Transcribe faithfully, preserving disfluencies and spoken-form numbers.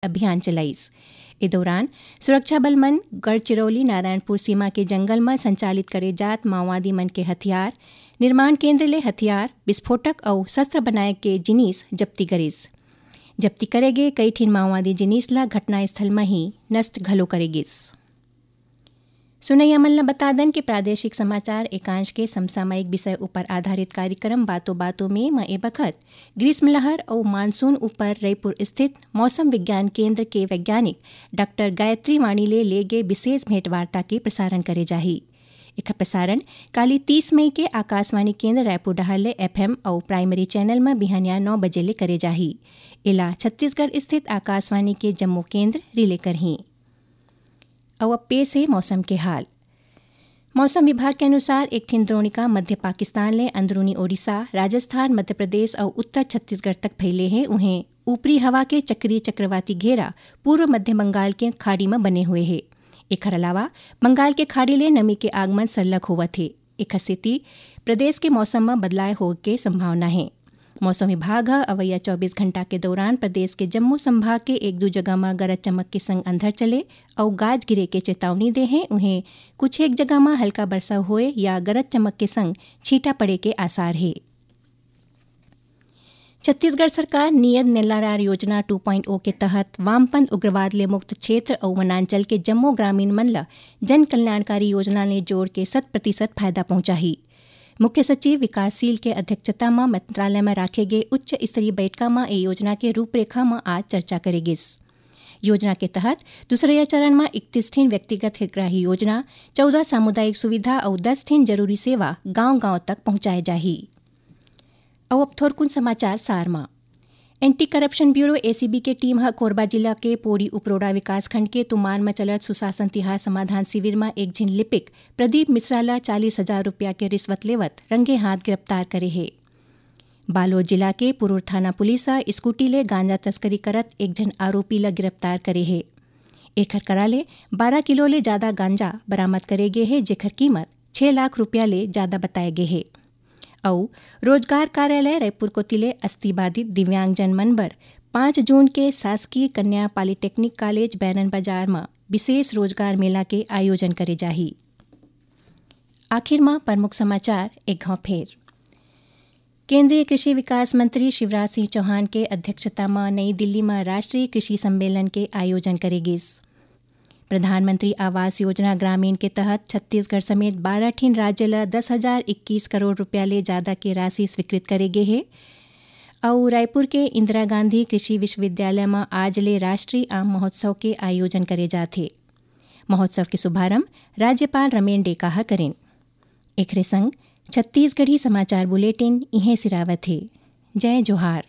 अभियान चलाइस। ए दौरान सुरक्षा बल मन गढ़चिरौली नारायणपुर सीमा के जंगल म संचालित करे जात माओवादी मन के हथियार, निर्माण केंद्र ले हथियार, विस्फोटक अउ शस्त्र बनाए के जिनिस जब्ती करिस। जब्ती करे गे कई ठिन माओवादी जिनिस ल घटनास्थल म ही नष्ट घलो करे गिस। सुनैया मन ल बता दन कि प्रादेशिक समाचार एकांश के समसामयिक विषय ऊपर आधारित कार्यक्रम बातों बातों में म ए बखत ग्रीष्म लहर अउ मानसून ऊपर रईपुर स्थित मौसम विज्ञान केंद्र के वैज्ञानिक डॉक्टर गायत्री वाणी ले ले गे विशेष भेंटवार्ता के प्रसारण करे जाही। एखर प्रसारण काली तीस मई के आकाशवाणी केंद्र रायपुर डहार ले एफएम अउ प्राइमरी चैनल म बिहनिया नौ बजे ले करे जाही। एला छत्तीसगढ़ स्थित आकाशवाणी के जम्मो केंद्र रिले करही। अउ अब पेश हे मौसम के हाल। मौसम विभाग के अनुसार एक ठिन द्रोणिका मध्य पाकिस्तान ले अंदरूनी ओडिशा, राजस्थान, मध्य प्रदेश अउ उत्तर छत्तीसगढ़ तक फैले हे। उहें ऊपरी हवा के चक्रीय चक्रवाती घेरा पूर्व मध्य बंगाल के खाड़ी म बने हुए हे। एखर अलावा बंगाल के खाड़ी ले नमी के आगमन सरलग होवत हे। एखर सेती प्रदेश के मौसम म बदलाव होए के संभावना हे। मौसम विभाग ह अवइया चौबीस घंटा के दौरान प्रदेश के जम्मो संभाग के एक दू जगह म गरज चमक के संग अंधर चले अउ गाज गिरे के चेतावनी दे हे। उहें कुछ एक जगह म हल्का बरसा होए या गरज चमक के संग छींटा पड़े के आसार हे। छत्तीसगढ़ सरकार नियत नेल्लारार योजना टू पॉइंट ओ के तहत वामपंथ उग्रवाद ले मुक्त क्षेत्र अउ वनांचल के जम्मो ग्रामीण मन ल जन कल्याणकारी योजना ले जोड़ के शत प्रतिशत फायदा पहुंचाही। मुख्य सचिव विकासशील के अध्यक्षता म मंत्रालय म राखे गे उच्च स्तरीय बैठका म ए योजना के रूपरेखा म आज चर्चा करे गिस। योजना के तहत दूसरइया चरण म इकतीस ठिन व्यक्तिगत हितग्राही योजना, चौदह सामुदायिक सुविधा अउ दस ठिन जरूरी सेवा गांव-गांव तक पहुंचाए जाही। अउ अब थोरकुन समाचार सार म। एंटी करप्शन ब्यूरो, एसीबी, के टीम ह कोरबा जिला के पोड़ी उपरोड़ा विकासखंड के तुमान म चलत सुशासन तिहार समाधान शिविर म एक झिन लिपिक प्रदीप मिश्रा ल चालीस हजार रुपया के रिश्वत लेवत रंगे हाथ गिरफ्तार करे हे। बालोद जिला के पुरूर थाना पुलिस ह स्कूटी ले गांजा तस्करी करत एक झन आरोपी ल गिरफ्तार करे हे। एखर करा ले बारह किलो ले जादा गांजा बरामद करे गे हे, जेखर कीमत छह लाख रुपया ले जादा बताए गे हे। अउ रोजगार कार्यालय रायपुर कोति ले अस्थि बाधित दिव्यांगजन मन बर पाँच जून के शासकीय कन्या पॉलिटेक्निक कॉलेज बैरन बाजार म विशेष रोजगार मेला के आयोजन करे जाही। आखिर म प्रमुख समाचार एक घाव फेर। केंद्रीय कृषि विकास मंत्री शिवराज सिंह चौहान के अध्यक्षता म नई दिल्ली म राष्ट्रीय कृषि सम्मेलन के आयोजन करे गिस। प्रधानमंत्री आवास योजना ग्रामीण के तहत छत्तीसगढ़ समेत बारह ठिन राज्य ल दस हजार इक्कीस करोड़ रुपया ले जादा के राशि स्वीकृत करे गे हे। अउ रायपुर के इंदिरा गांधी कृषि विश्वविद्यालय म आज ले राष्ट्रीय आम महोत्सव के आयोजन करे जात हे। महोत्सव के शुभारंभ राज्यपाल रमेन डेका ह करिन। एखरे संग छत्तीसगढ़ी समाचार बुलेटिन इहें सिरावत हे। जय जोहार।